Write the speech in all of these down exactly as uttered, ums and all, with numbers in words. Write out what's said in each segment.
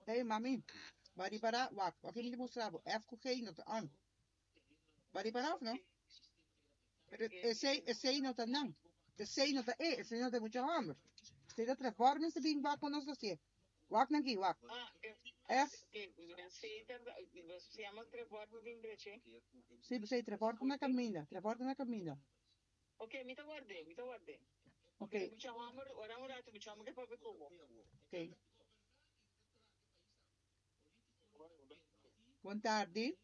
Hey, mami, bo a ripará, wak, wak mi ta mustra bo, F ku G no ta on. Bo a ripará òf no? Pero esei, esei no ta nan. Esei no ta e, esei no ta mucha hòmber. Esei ta Trevor mester bin wak kon nos ta hasié. Wak nan ki, wak. Ah, F. Sí, se llama Trevor bin drechi. Sí, sí, Trevor ta na kaminda, Trevor ta na kaminda. Ok, mi ta ward'é, mi ta ward'é. Ok. Mucha hòmber, ora un ratu, mucha hòmber ke papia ku bo. Ok. Bon tardi.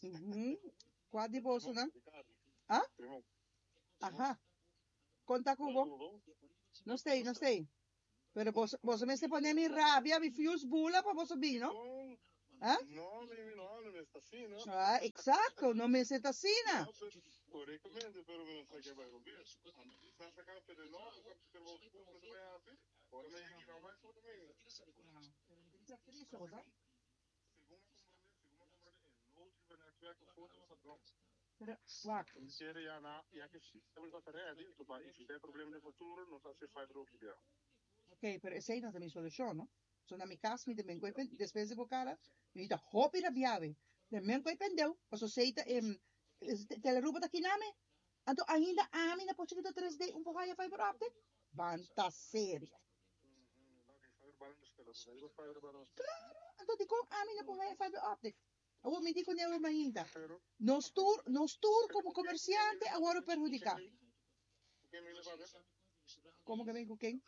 Uhum. Kua di bosonan? Ah? Aha. Konta ku bo. No stay, no stay. Pero boso, boso mester pone mi rabia, mi fuse bula pa boso bin, no? Ah? No, mi no, no mester asina. Ah, exacto, no mester ta asina. Correctamente, pero mi no sa ke bai robes. Sa saca pero no, pero ora mi no mai foto mi. Pero, wak. Ok, pero esei no ta mi solushon, no? So na mi kas mi ta men koe pen, despues di bo kara, mi ta hopi rabiawe. Ta men koe pendeu, paso sei ta em, Telearuba ta kiname. Anto ainda ami na por chikito tres D un por haya fiber optic? Ban ta serio. Claro, anto dikon ami no por haya fiber optic? Awor mi di ku Neuro mainta, nos tur, nos tur komo komersiante a wòrdu perhudiká. Komo ke bin ku ken?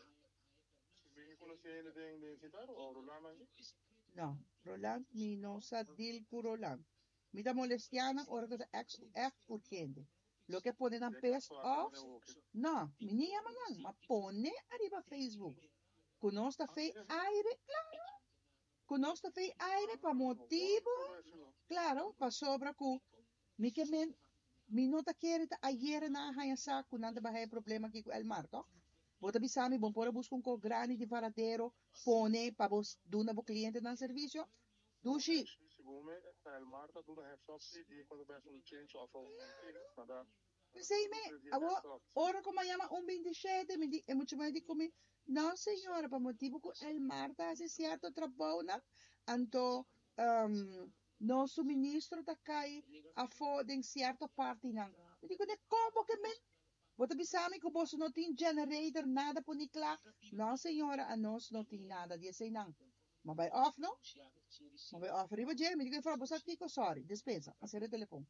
No, Roland mi no sa deal ku Roland. Mi ta molestiá nan ora ku ta èks ègt urgente. Loke pone nan pissed off, no, mi ni yama nan, ma pone ariba Facebook ku nos ta fei aire, klaro, ku nos ta fei aire pa motibu, klaro, pasobra ku mi ke men, mi no ta kere ta ayera nan a haña sa ku nan ta bai haña problema aki ku Elmar, tòg? Bo ta bisa mi bo por a buska un kos grandi di varadero pone pa bo duna bo klientenan servisio? Dushi. P'esei mi, awor, ora ku mi a yama un binti shete, mi di, e mucha muhé di ku mi, No, señora, pa motibu ku Elmar ta hasi sierto trabounan, anto nos suministro ta kai afó den sierto partinan. Mi di kuné, Kon bo ke men? Bo ta bisa mi ku boso no tin generator, nada poni kla? No, señora, anos no tin nada di eseinan. M'a bai òf no? M'a bai òf riba dje. Mi di ku e frou, bo sa kiko? Sòri, despensa. A sera e telefon.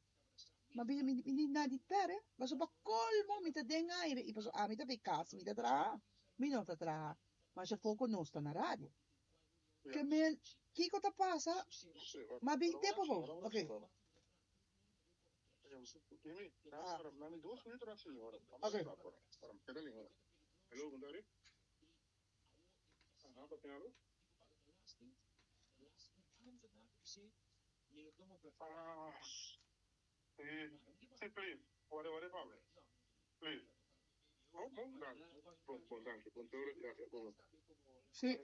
M'a bisa, mi di na di pere, pasobra pa kolmo mi ta den aire i pasobra ami ta bay kas mi ta traha. Mi no ta traha masha poko nos ta na radio. Ke men, kiko ta pasa? M'a bin te pa bo. Oke. Oke. Sí.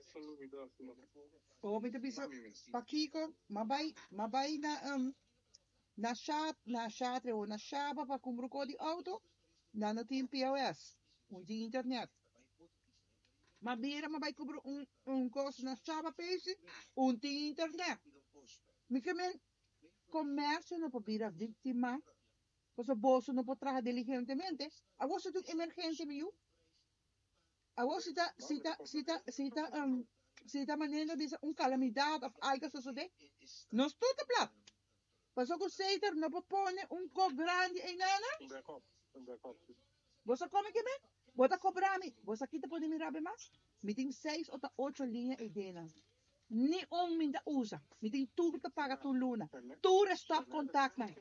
Bo mi ta bisa pakiko m'a bai m'a bai na na sha na Shatre o na Shaba pa kumpra un kos di outo nan no tin P O S un tin internet. M'a bira m'a bai kumpra un un kos na Shaba Pesi un tin internet. Mi ke men komersio no por bira víktima pasobra boso no por traha diligentemente. Awor si ta un emergensia mi yu. Awor si ta si ta si ta si ta si ta manera bisa un kalamidat òf algu a sosodé nos tur ta plat. Pasobra ku Satan no por pone un kok grandi einana. Bo sa kome ke men? Bo ta kobra mi. Bo sa ki ta pone mi rabia mas? Mi tin seis o ta ocho liña eidenan. Ni un mi ta usa. Mi tin tur ta paga tur luna. Tur e stop kontaktnan.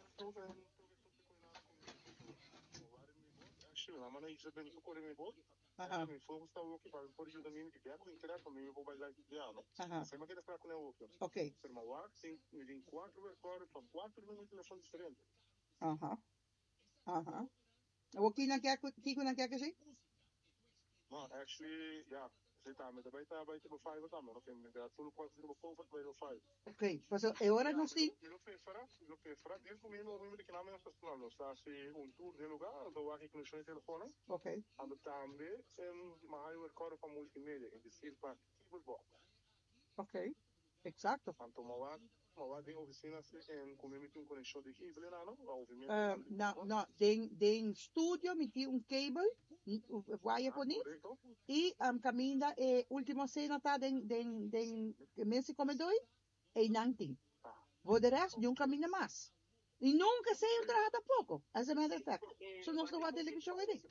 Aha. Mi focus ta aki pa por yuda mi ku ku internet pa mi por bai live dia, no? Aha. Esei mi ke spera ku e otro. Ok. Pero mi wak tin mi tin kuater recorder pa kuater número di telefòn diferente. Aha. Aha. O ki nan ke ki nan ke ku No, actually, ja, esei tambe, tambe ta bai tipo five tambe, no? Mi ta tur kuater tipo comfort bai five. Ok, paso e ora nos tin Mi lo preferá, mi lo preferá, desde ku mi no mi ku nada menos personal, no sa si un tour di lugá, anto wak e konekshon di telefòn, Ok. anto tambe um, m'a haña recorder pa multimedia, es desir pa cable box. Ok. Eksakto. Anto m'a wak, m'a wak den ofisina en ku mi tin konekshon di cable na, no? Obviamente. Uh, no, no, den den studio mi tin un cable, wire poni, Korekto? i um, kaminda e Ultima Cena ta den den den mes komedor e nan tin. Ah, Voor de rest, niun kaminda mas. I nunka esei no traha tampoko, as a matter of fact. So nos no wak televishon ei.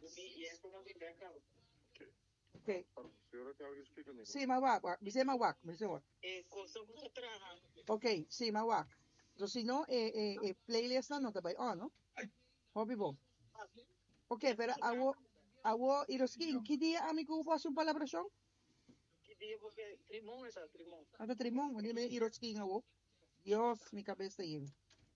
Ok. Ok. Señora, tin algu splika mi? Si, m'a wak, wak. Bisa m'a wak, bisa wak. Eh, kosa ku ta traha. Ok, si, m'a wak. So, si no, e, e, e playlist no ta bai on, no? Hopi bon. Ok, pero awo, awo, Iroskin, ki dia ami ku bo un palabrashon? Ki dia porque trimon esa trimon. Ata trimon, wanneer me Iroskin awo. Dios, mi kabes ta yen.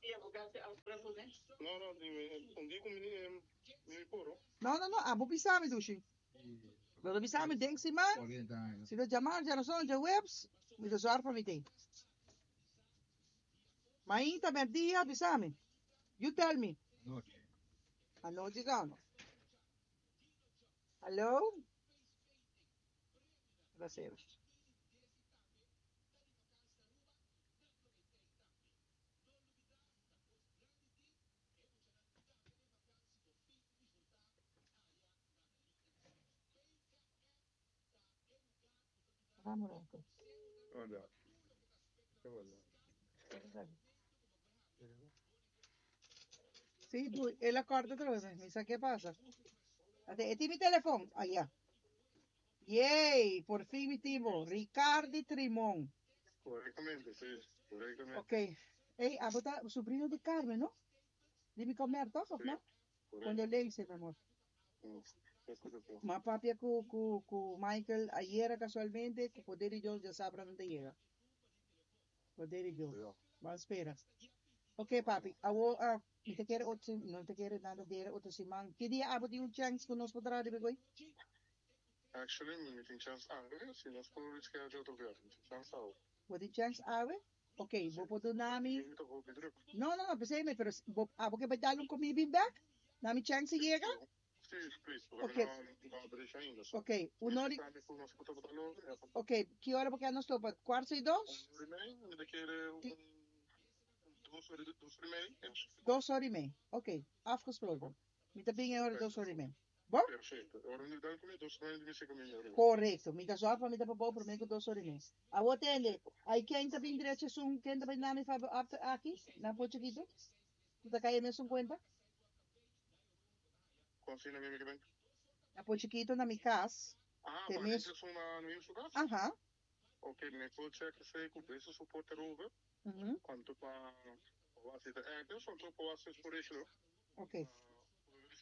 Dia porque hace afspraak, né? No, no, un dia ku mi mi poro. No, no, no, abo bisami, dushi. Pero bisami, den siman, kuarenta aña. Si ta djamars, djarason, djaweps, mi ta zorg pa mi tin. Mainta, dia, bisami. You tell me. Nochi. Anochi gano. Hallo? Plaser. Vamos lá. Hola. Hola. Si, el a kòrta atrobe, mi sa kiko a pasa. Ate, e mi telefòn, aya. Yay, por fin mi tin bo. Ricardo Trimon. Korektamente, si, korektamente. Ok. Hey, abo ta subrino di Carmen, no? Di mi komer, toch, of no? Korekto. Condolencia, mi amor. Mm, korekto. M'a papia ku, ku, ku Michael ayera kasualmente, ku poder di Dios djasabra nan ta yega. Poder di Dios. Ja. Ban spera. Ok, papi. Awo, uh, mi ta kere otro, no ta kere nada dera otro siman. Ki dia abo tin un chance ku nos por traha riba e? Actually, mi tin chance awe, si nos por reschedule otro biaha, mi tin chance awe. Bo tin chance awe? Ok, bo por duna mi. Mi ta hopi druk. No, no, no, pensei me, pero bo abo ke bai dal un komi bin back? Na mi chance yega? Si, please, Ok. porque no no habri ainda. So. Ok, un ora, Sabe ku nos por ok, ki ora porque nos topa? Kuart i dos? Un ora i mei, mi ta kere un dos ora, dos ora i mei. Dos ora i mei. Ok, afgesproken. Mi ta bin ora dos ora i mei. Bon? Perfekto. Ora mi dal ku dos ora i mei, mi mi Korekto. Mi ta zorg pa mi ta pa promé ku dos ora i mei. Awo tende, ai ken ta bin direito sun, ken ta bin nami fa after aki, na po chiquito? Tu ta kai mes un kuenta? Kon mi mi Na po chiquito na mi kas. Ah, Te maar mes- dit is een nu in kas? Aha. Ok, mi por check esei ku beste support erover. Mhm. Kuantu pa was het er quanto pa was het por isso. Ok.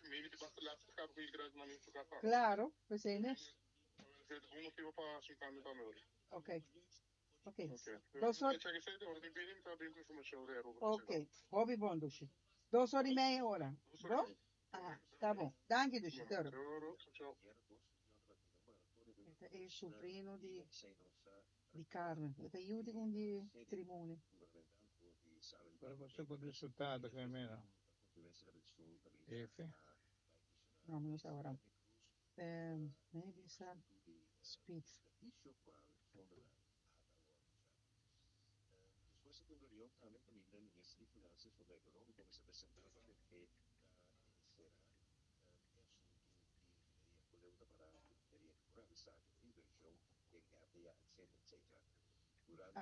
Maybe de basta laatste gaat ku krijg maar niet zo gaat. Claro, we zijn er. Het is motivo pa cinco tambe. Ok. Ok. Ok. Dos ora- Check esei, ora di bini ta bin ku informashon erover. Ok. Hopi bon, dushi. Dos ora i mei ora. Bon? Ah, ta bon. Danki, dushi. Toro. Ciao. E ta subrino di, di Carmen. E ta yu di un di Trimone. Pero bo por resultado ku meno. F. No, no sa ora. Um, maybe some speed.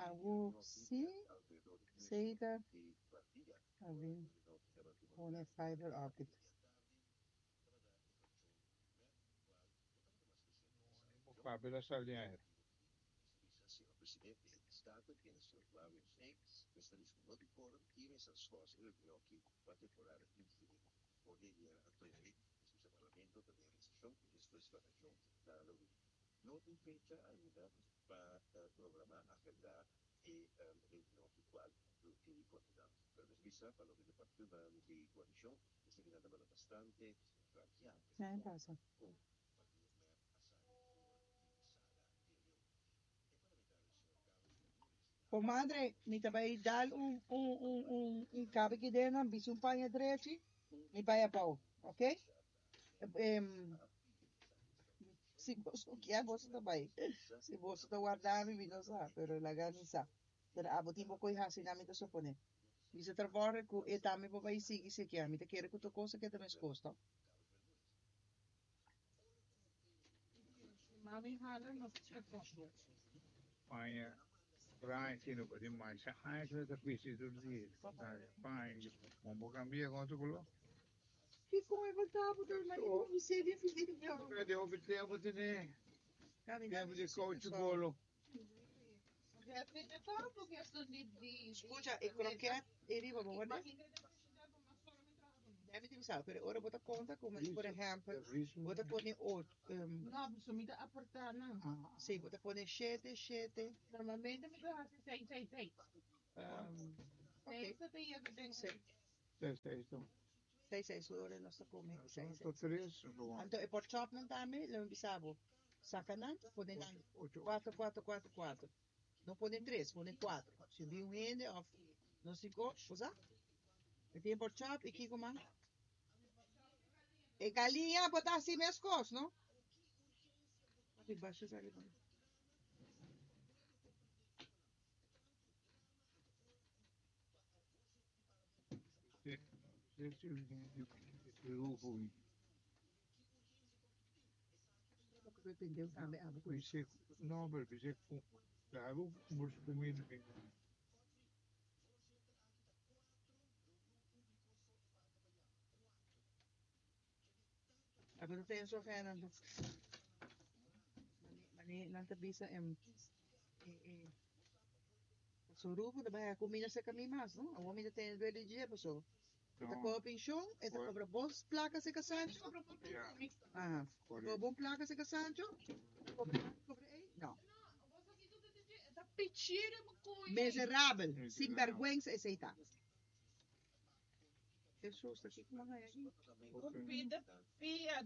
Awo si, zeker. Awin, pone fiber optic. Papi la sali. Nee, pasa. Comadre, mi ta bay dal un un un un un cabe ki den nan, bisa un paña drechi, mi bay abou, ok? Em, si boso kier, boso ta bay. Si boso ta warda mi, mi no sa, pero laga mi sa. Pero abo tin bo koe hasi na mi ta supone. Bisa trabou ku e tambe bo bay sigui si kier. Mi ta kere ku tur kos a keda meskos, to? Mami hala nos cheko. Paña, Brian, sino pa di mais. Ah, isso é bisti tur dia. Paña, vamos cambiar com outro color. Kiko e voltavo door maar ik mi sedi finito. De hopi tempo tiene. Tempo di coach bolo. Scusa, e croquet e riba bo guarda. Deve di sa, pero ora bota conta come por ejemplo, bota pone ocho, um, No, pues mi ta aportar na. sì, bota pone sette, sette, Normalmente mi ta hasi seis, seis, seis. um, ok, Seis ta yega den. Sì. Sei, sei, então. sei, sei, ora non sta come, sei, sei. Sono tre, sono Anto e por chop non dame, lo bisabo. Saca nan, pone nan, ocho. quattro, quattro, quattro, quattro. Non pone tre, pone quattro. Se vi un ende of non si go, cosa? E tem por chop e kiko man? E galinha botar assim mesmo cos, não? Aqui baixo sabe não. Sì, sì, sì, sì, Dependeu também, ah, sì, sì, no, perché se claro, molto meno. Aber dat is zo fijn. Mani, nanta bisa em eh eh so rupo da vai comida se caminho mais, não? O homem tem dois dias, pessoal. Eta No, cobra pension, eta cobra bons placas se Sancho. Ah, cobra bom placa se Sancho. Cobra cobra ei? No. Pichira mo kuya. Miserabel, Miserabel. sinvergüenza esse aí tá. Jesus, tá aqui com uma aqui. Pida, pia,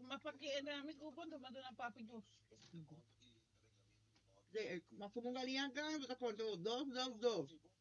mapakian namin kupon, dumado na papi dos. De, mas como galinha ganha, você conta dois, dois, dois.